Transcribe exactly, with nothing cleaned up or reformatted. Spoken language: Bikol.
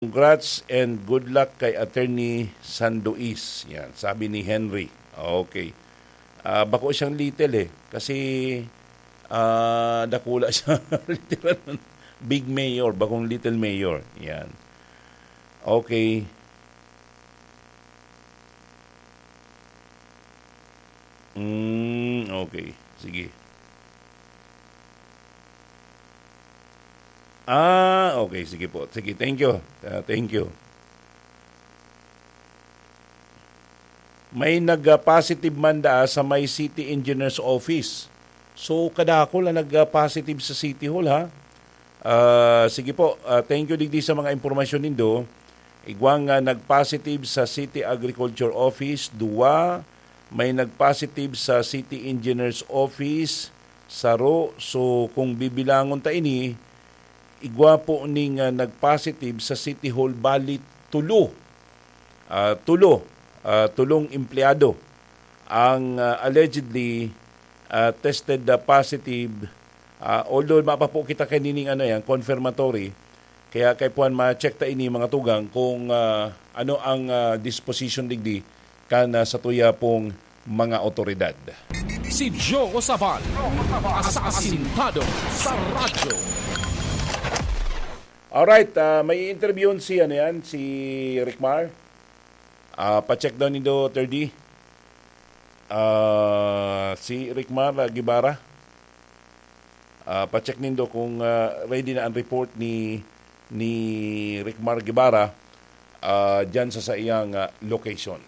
Congrats and good luck kay Attorney Sandois. Yan, sabi ni Henry. Okay. Ah, bako siyang little eh. Kasi, ah, dakula siya. Literal. Big mayor, bakong little mayor. Yan. Okay. Mm, okay. Sige. Ah, okay. Sige po. Sige, thank you. Ah, thank you. May nag-positive man daa sa may city engineer's office. So, kadakol ang nag-positive sa City Hall, ha? Ah, sige po. Ah, thank you digdi sa mga impormasyon nindo. Igwang, ah, nag-positive sa City Agriculture Office, duwa. May nag-positive sa City Engineer's Office, saro. So, kung bibilangon ta ini, igwa po ning, ah, nag-positive sa City Hall, bali tulo. Ah, tulo. Ah, tulong empleyado ang, ah, allegedly, ah, tested, ah, positive. Ah, although mapa po kita kanining ano yan, confirmatory, kaya kay Puan ma-check ta ini mga tugang kung, ah, ano ang, ah, disposition digdi kan, ah, sa tuya pong mga otoridad. Si Joe Sabal, asasintado sa radyo. Alright, ah, may interview si, ano yan, si Rickmar. Ah, pa-check daw nindo, thirty. Ah, si Rickmar, ah, Guevara. Ah, pa-check nindo kung, ah, ready na ang report ni, ni Rickmar Guevara, ah, dyan sa, sa iyang, ah, location.